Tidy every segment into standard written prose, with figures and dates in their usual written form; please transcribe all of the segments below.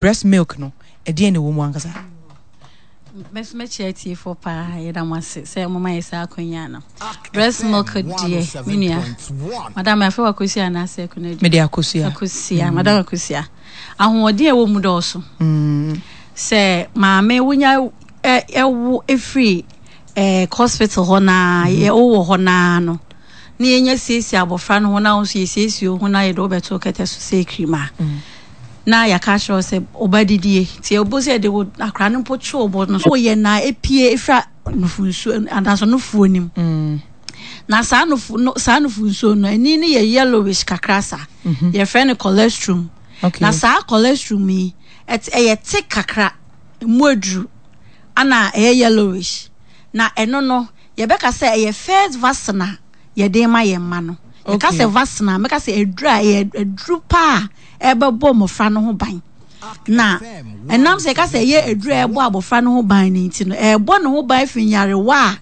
Breast milk no, ɛdeɛn na ɛwɔ mu ankasa? Me nso mɛkyia atiefoɔ paa, yɛda mo ase sɛ moma yɛ saa akwanya no. Breast milk deɛ, me nua, madam afei wakosua anaasɛ akuna Mede akosua. Akosua, madam akosua. Ahoɔden a ɛwɔ mu dɔɔso. Sɛ maame wonya ɛwo ɛfiri hospital hɔ naa, wowɔ hɔ naa no, na yɛnya siesie abɔfra no ho na wo nso yɛsiesie wo ho na yɛde wo bɛto kɛtɛ so sɛ kirima. Na yɛaka akyerɛ wo sɛ ɔba didie nti ɛbɔ sɛ yɛde wo akora no mpo twe wo bɔ no so yɛ na epie efira nufu nsuo anaasɛ nufuo nim mm. Na saa nufu no, saa nufu nsuo no ani no yɛ yellowish kakra saa yɛfrɛ no colostrum. Na saa colostrum yi ɛyɛ te kakra, emu aduru ana ɛyɛ yellowish, na ɛno no yɛbɛka sɛ ɛyɛ first vaccine a yɛde ma yɛn mma no. Yɛka sɛ vaccine a, mɛka sɛ aduru a ɛyɛ aduru paa a ɛbɛbɔ mmɔfra no ho ban. Na ɛnam sɛ yɛka sɛ ɛyɛ aduru a ɛbɔ abɔfra no ho ban no nti no, ɛbɔ ne ho ban firi nyarewa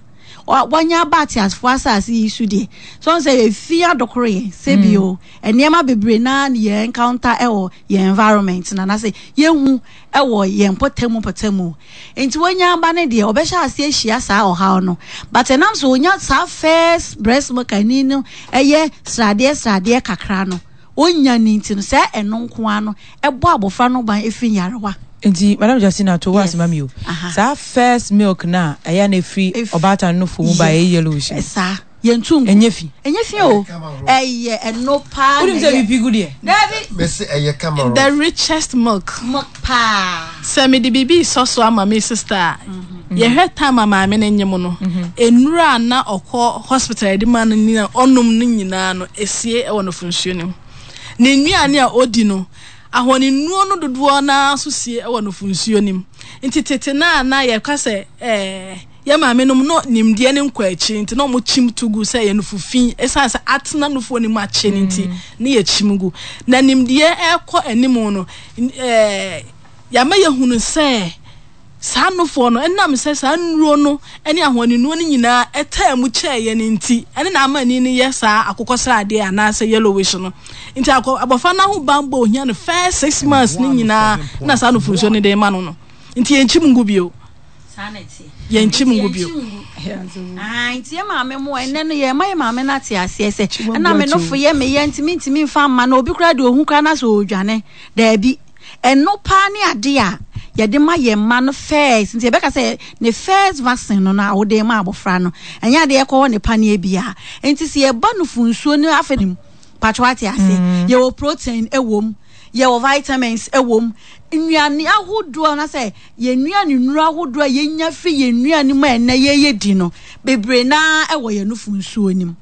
a wanya aba ateasefoɔ asase yi so deɛ. So ɔn sɛ efi adokoro yɛn sɛbi o, nneɛma bebree naa na yɛn encounter ɛwɔ yɛn environment na anaasɛ yɛhu ɛwɔ yɛn mpɔtamu mpɔtamu. Nti wanya aba no deɛ, ɔbɛhyɛ aseɛ ahyia saa ɔhaw no. But ɛnam sɛ ɔnya saa first breast milk ani no ɛyɛ sradeɛ sradeɛ kakra no, ɔnya no nti no, saa ɛno nko ara no ɛbɔ abɔfra no ban ɛfiri nyarewa. Nti Madam Justina to wo ase ma me o. Saa first milk no a ɛyɛ a na ɛfiri ɔbaatan no nufoɔ mu ba a ɛyɛ yellowish no. Saa. Yɛntu ngu. Ɛnyɛ fi. Ɛnyɛ fi o. Ɛyɛ ɛno paa na Wonim sɛ ɛyɛ. bibi gu deɛ. Dabi. Mese ɛyɛ kama rough. The richest milk. Milk paa. Sɛ mede biribi resɔ so ama me sister a, yɛhwɛ time a maame no nyem no, nnuru a na ɔkɔ hospital yɛde ma no nyinaa, ɔnom no nyinaa no, esie wɔ nufunsuo no mu. Ne nnuane a ɔdi no, ahɔnennuo no dodoɔ no ara nso sie wɔ nufunsuo no mu. Nti tete no a na yɛka sɛ ɛɛ. Yɛn maamenom no nimdeɛ no nkɔ akyiri nti na wɔkyim to gu sɛ ɛyɛ nufu fi. Esiane sɛ atena nufoɔ no mu akyɛ no nti, ne yɛkyim gu. Na nimdeɛ rekɔ anim no, yɛama yɛhunu sɛ saa nufoɔ no, ɛnam sɛ saa nnuro no ne ahoɔdennuo no nyinaa ɛtaa mu kyɛɛ yɛn nti, ɛne na ama ani no yɛ saa akokɔsradeɛ anaasɛ yellowish no. Nti abɔfra no ahobanbɔ a ohia no first 6 months no nyinaa na saa nufosuo no de ma no no. Nti yɛnkyim ngu bio. Saa na ɛteɛ. Yɛnkyim ngu bio. Nti yɛ maame mo ɛnɛ no yɛ ma yɛ maame no ate aseɛ sɛ ɛna me nofo yɛ me yɛ nti mentumi mfa mma no, obi koraa deɛ ohu koraa na sɛ ɔredwane. Daabi, ɛno paa ne ade a yɛde ma yɛn mma no first. Nti yɛbɛka sɛ ne first vaccine no no a wode ma abɔfra no, ɛnyɛ adeɛ yɛkɔwɔ ne paneɛ biara. Nti sɛ yɛba nufu nsuo no afei no patro ate aseɛ, yɛwɔ protein ɛwɔ mu, yɛwɔ vitamins ɛwɔ mu, nnuane ahodoɔ anaasɛ yɛn nnuane nnuro ahodoɔ a yɛnya firi yɛn nnuane mu a ɛnnɛ yɛyɛ di no, bebree naa ɛwɔ yɛn nufu nsuo no mu.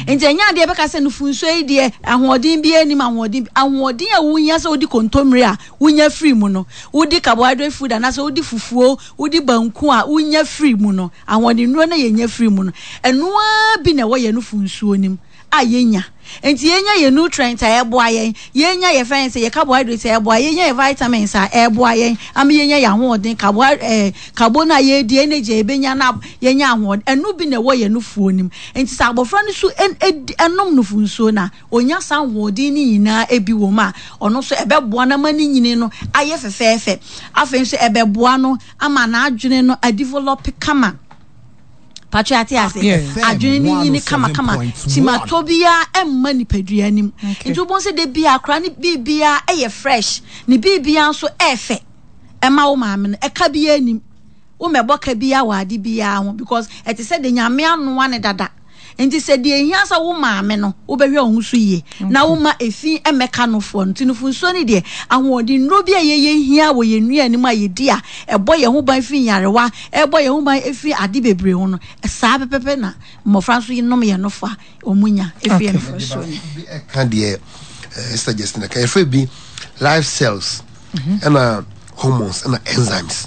Nti ɛnyɛ adeɛ bɛka sɛ nufu nsuo yi deɛ ahoɔden bi anim, ahoɔden ahoɔden a wohia sɛ wodi kontommire a wonya firi mu no, wodi carbohydrate food anaasɛ wodi fufuo, wodi banku a wonya firi mu no, ahoɔden nnuro no yɛnya firi mu no, ɛno ara bi na ɛwɔ yɛn nufu nsuo no mu a yɛnya. Nti yɛnya yɛn nutrient a ɛboa yɛn, yɛnya yɛ fɛn sɛ yɛ carbohydrate a ɛboa yɛn, yɛnya yɛ vitamins a ɛboa yɛn ama yɛnya yɛn ahoɔden, carbohydrate carbo no a yɛredi, energy a yɛbɛnya na yɛnya ahoɔden, ɛno bi na ɛwɔ yɛn nufuo no mu. Nti sɛ abɔfra no so ɛnom nufu nsuo no a, ɔnya saa ahoɔden no nyinaa bi wɔ mu a, ɔno nso ɛbɛboa no ama ne nyini no ayɛ fɛfɛɛfɛ. Afei nso ɛbɛboa no ama n'adwene no adevelop kama. Patro ate ase. Adwene no nyini kamakama. Kyimatɔ biara ɛmma nipadua anim. Nti wobɛhu sɛ da biara akora ne biribiara ɛyɛ fresh. Ne biribiara nso ɛɛfɛ. Ɛma wo maame no ɛka biara anim. Wo mɛbɔ ka biara wɔ ade biara ho because ɛte sɛ de Nyame anoa ne dada. Nti sɛ deɛ ehia sɛ wo maame no wobɛhwɛ wo ho so yie na woma efi mmɛka nofoɔ no. Nti nufunsuo no deɛ, ahoɔden nnuro bi a yɛyɛ hia wɔ yɛn nnuane mu a yɛdi a ɛbɔ yɛn ho ban firi nyarewa, ɛbɔ yɛn ho ban firi ade bebree ho no, saa pɛpɛpɛ na mmɔfra nso nom yɛn nofo a wɔn nya firi yɛn nufunsuo no. Bi ɛka deɛ Sister Justina ka, yɛfrɛ bi life cells ɛna hormones ɛna enzymes.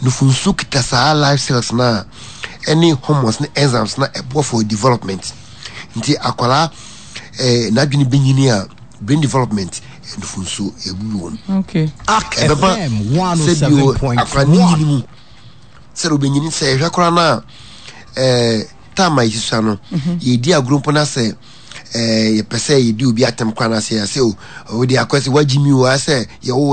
Nufunsuo kita saa life cells no a ɛne hormones ne enzymes na ɛboa for development. Nti akwadaa n'adwene bɛnyini a, brain development, nufunsuo ɛbu wɔm. Ɛbɛba sɛ bio akwadaa ne nyini mu sɛdeɛ ɔbɛnyini sɛ ɛhwɛ koraa no a time a yɛsusua no, yɛdi agorɔ mpo no sɛ Yɛpɛ sɛ yɛdi obi atɛm koraa na sɛ yɛsɛ o, wode akɔ sɛ woagye mi o, asɛ yɛwo.